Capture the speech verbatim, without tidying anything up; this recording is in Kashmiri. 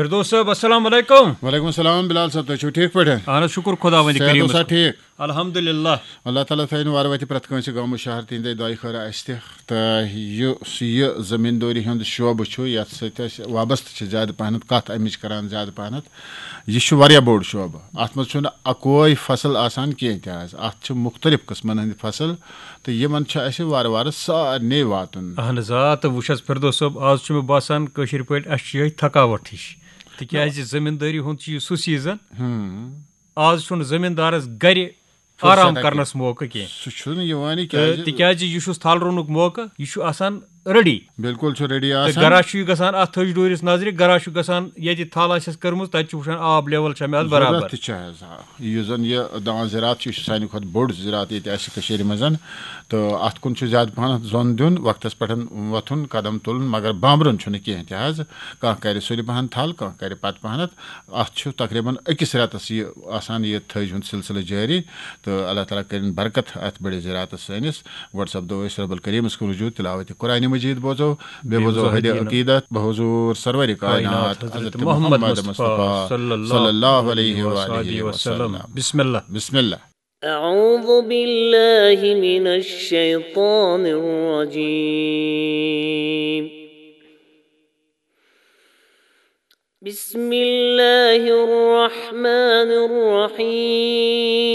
فردوس صٲب، السلام علیکم۔ وعلیکم السلام بلال صٲب، تُہۍ چھِو ٹھیٖک پٲٹھۍ؟ اہن حظ، شُکُر خۄداوندِ صحت کریٖمَس اوسا کُن۔ ٹھیٖک؟ الحمدللہ۔ اللہ تعالیٰ تھٲیِن وارٕ وَتہِ پرٛٮ۪تھ کٲنٛسہِ گامہٕ شہر تِہِنٛدے دۄیہِ خٲرٕ اَسہِ تہِ۔ تہٕ یُس یہِ زٔمیٖندٲری ہُنٛد شعبہٕ چھُ، یَتھ سۭتۍ أسۍ وابستہٕ چھِ زیادٕ پَہنَتھ، کَتھ اَمِچ کَران زیادٕ پَہنَتھ، یہِ چھُ واریاہ بوٚڑ شعبہٕ۔ اَتھ منٛز چھُنہٕ اَکوے فصل آسان کینٛہہ تہِ حظ، اَتھ چھِ مُختلف قٕسمَن ہٕنٛدۍ فصل، تہٕ یِمَن چھُ اَسہِ وارٕ وارٕ سارنٕے واتُن۔ اہن حظ آ، تہٕ وٕچھ حظ فردوس صٲب، آز چھُ مےٚ باسان کٲشِر پٲٹھۍ اَسہِ چھِ یِہوٚے تھکاوَٹھ ہِش، تِکیٛازِ زٔمیٖندٲری ہُنٛد چھُ یہِ سُہ سیٖزن، آز چھُنہٕ زٔمیٖندارَس گَرِ آرام ہٮ۪کان کَرنَس موقعہٕ کینٛہہ۔ سُہ چھُنہٕ یِوانٕے تہٕ کیٛازِ؟ تِکیٛازِ یہِ چھُس تھل رُنُک موقعہٕ، یہِ چھُ آسان ریڈی۔ بِلکُل چھُ ریڈی تہٕ آسان۔ گرا چھُ یہِ گژھان اَتھ تھٔج ڈوٗرِس نظرِ، گرا چھُ گژھان ییٚتہِ تھل آسٮ۪س کٔرمٕژ، تَتہِ چھُ وٕچھان آب لیول چھا مےٚ اَتھ برابر۔ ضروٗرت تہِ چھِ حظ، آ۔ یُس زَن یہِ دان زِراعت چھُ، یہِ چھُ سانہِ کھۄتہٕ بوٚڑ زِراعت ییٚتہِ اَسہِ کٔشیٖرِ منٛز، تہٕ اَتھ کُن چھُ زیادٕ پَہَن زۄن دیُن، وقتَس پٮ۪ٹھ وۄتھُن، قدم تُلُن، مگر بامبرُن چھُنہٕ کینٛہہ تہِ حظ۔ کانٛہہ کَرِ سُلہِ پَہَن تھل، کانٛہہ کَرِ پَتہٕ پَہَنَتھ۔ اَتھ چھُ تقریٖباً أکِس رٮ۪تَس یہِ آسان، یہِ تھٔج ہُنٛد سلسلہٕ جٲری، تہٕ اللہ تعالیٰ کٔرِن برکت اَتھ بٔڑِس زِراعتَس سٲنِس۔ گۄڈٕ سَپدو أسۍ رب الکریٖمَس کُن رجوع، تلاوت قرآن مجید بوزو، بیٚیہِ بوزو بوزو حدیث حدیث عقیدت، بحضور سرور کائنات کائنات حضرت حضرت محمد محمد مصطفیٰ مصطفیٰ صلی صلی اللہ اللہ علیہ علیہ وآلہ وآلہ وسلم۔ وسلم۔ بسم اللہ۔ بسم اللہ۔ أعوذ بالله من الشيطان الرجيم. بسم الله الرحمن الرحيم.